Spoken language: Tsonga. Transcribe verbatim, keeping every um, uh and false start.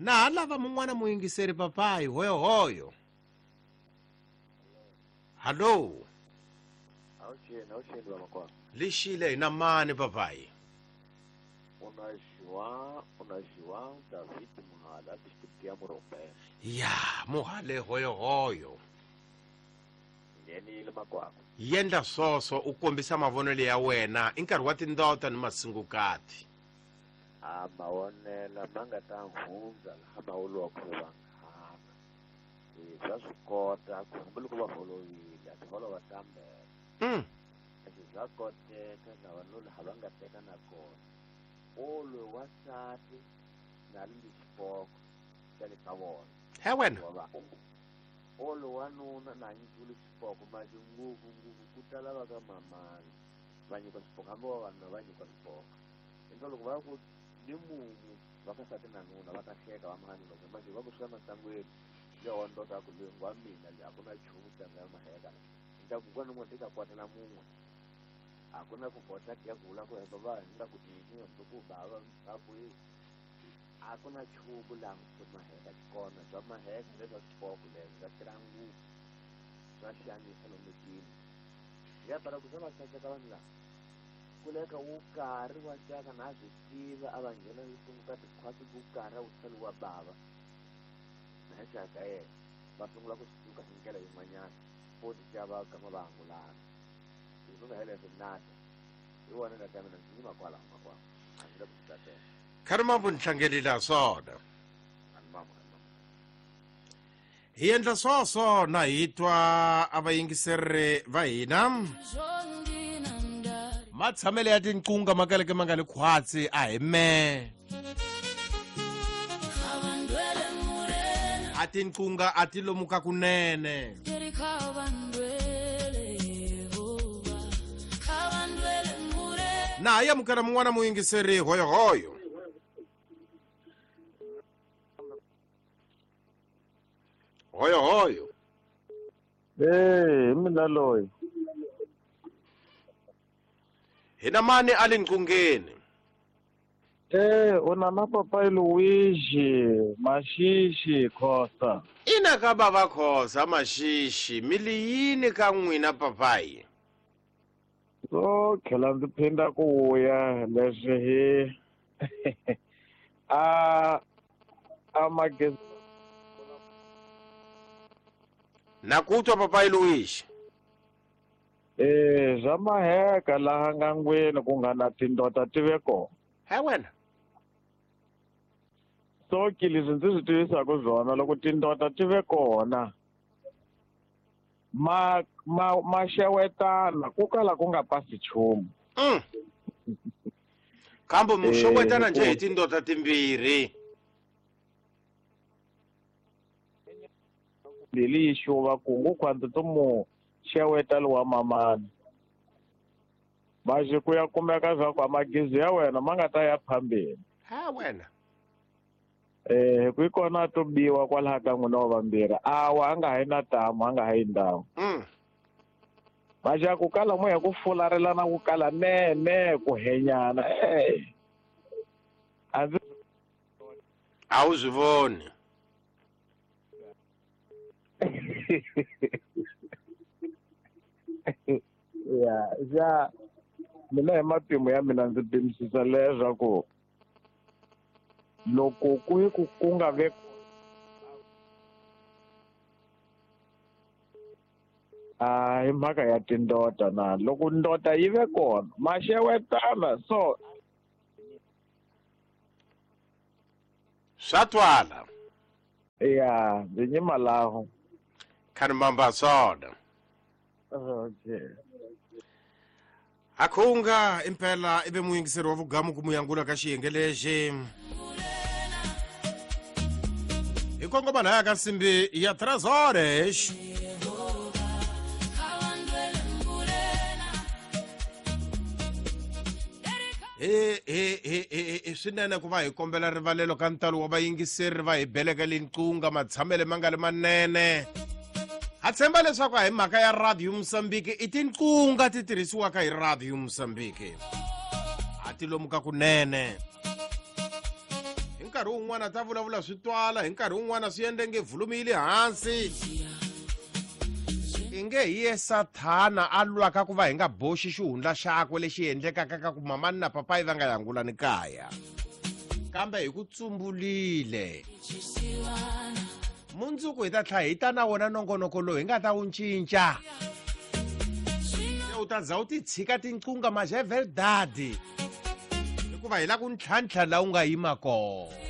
Na ha lava mun'wana muyingiseri papayi hoyohoyo. Hallo. Awuxeni, awuxeni vamakwana. Lexile hi na mani papayi? U na João, u na João David Muhala, district ya Morobe. Ya, Muhale hoyohoyo. Nghenile makwako. Yendla swoswo u kombisa mavonelo ya wena i nkarhi wa tindota ni masungukati. A mavonelo ma nga ta hundza laha ma vuriwaka ku vanghana. E swa swi kota ku hambiloko va holovile a ti holova ta mbele. Mm. Leswi swa koteka na vanhu laha va nga teka na kona. Olwe wansati na ri xipoko xa le ka vona. He wena. Olwe wanuna na nyikiwile xipoko manje ngopfu ngopfu ku tala va ka mamani va nyikiwa xipoko hambi vavanuna va nyikiwa xipoko. Hindlela loko va ku ni mumu va ka nsati na nuna va ta hleka va mhani loko manje va ku swi masangwini le wa ndoda ku loyi wa mina le a ku na nchumu xa nga maheka ni ta ku kwana n'wana ti ta kwatela mun'we a ku na ku kota ya ku vula ku hemba va hi nga ku tini hambi ku bava va ku a ku na nchumu laha swa maheka kona swa maheka leswa swipoko leswi swa tirha ngopfu swa xanisa lomitini ya para ku swa va xaxeka vanhu lava kuleka wo karhi wa xaka na swi tiva a va nghena hi sunguka tikhwasi ku karhi wu tlhela wa bava na xaka yena va sungula ku suka hi ndlela yin'wanyana futhi xa va gama va angulana hi ku nga heleswi nata hi wona nga ta mina ndzi yima kwalaho makwavo a ndzi le ku swi tatela. Kharimambu ni hlangelile swona. Hi endla swoswo na hi twa a vayingiseri va hina. Matshamelo ya tinqunga ma kaleke ma nga le khwatsi a hi me. A tinqunga a ti lomuka kunene. Na ha amukela mun'wana muyingiseri hoyohoyo. Hoyo hoyo. Eh, mina loyi. Hina mani a le nqungeni? Eh, u na na papayi Luigi, Mashishi Khosa. Ina ka bava Khosa Mashishi, mi li yini ka n'wina papayi? So tlhela ndzi phinda ku vuya leswi hi a a magezi. Na ku twa papayi Luigi. Eh, swa maheka laha ngangwini ku nga na tindota ti ve kona. He wena. So ki leswi ndzi swi tivisaka swona loko tindota ti ve kona ma ma ma xewetana ku kala ku nga pasi nchumu. Mm. Kambe mu xewetana njhe hi tindota timbirhi? Mbili yi xuva kungu khwandza to mu xeweta lowa mamani. Manje ku ya kumeka swa ku magezi ya wena ma nga ta ya phambeni. Ha wena. Eh, ku kona to biwa kwalaha ka n'wina wa vambirhi. Awa a nga ha yi na tamu, a nga ha yi ndhawu. Mm. Manje ku kala moya ku fularelana ku kala me me ku henyana. Eh. A ndzi a wu swi voni. Ya, ya mina hi matimu ya mina ndzi pimisisa leswaku loko ku yi ku ku nga ve a hi mhaka ya tindota na loko ndota yi ve kona ma xewetana so swa twala. Ya, ndzi nyima laho. Kharimamba swona. Okay. Akhunga impela ibe muyingiseri wa vugamu ku muyangula ka xiyenge lexi. Hi kongoma laya ka nsimbi ya tres horas. He he he he swinene ku va hi kombela rivalelo ka ntalo wa vayingiseri va hi beleka linqunga matshamele ma nga le manene. Ha tshemba leswaku a hi mhaka ya Radio Mozambique i tinqunga ti tirhisiwaka hi Radio Mozambique. A ti lomuka kunene. Hi nkarhi wun'wana ta vulavula swi twala hi nkarhi wun'wana swi endle nge volume yi le hansi i nge hi ye sathana a lwaka ku va hi nga boxi xihundla xakwe lexi endlekaka ka ku mamani na papayi va nga yangulani kaya kambe hi ku tsumbulile mundzuku hi ta tlhela hi ta na wona nongonoko lowu hi nga ta wu cinca se u ta za u ti tshika tinqunga mas é verdade hikuva hi la ku ntlhantlha laha u nga yima kona.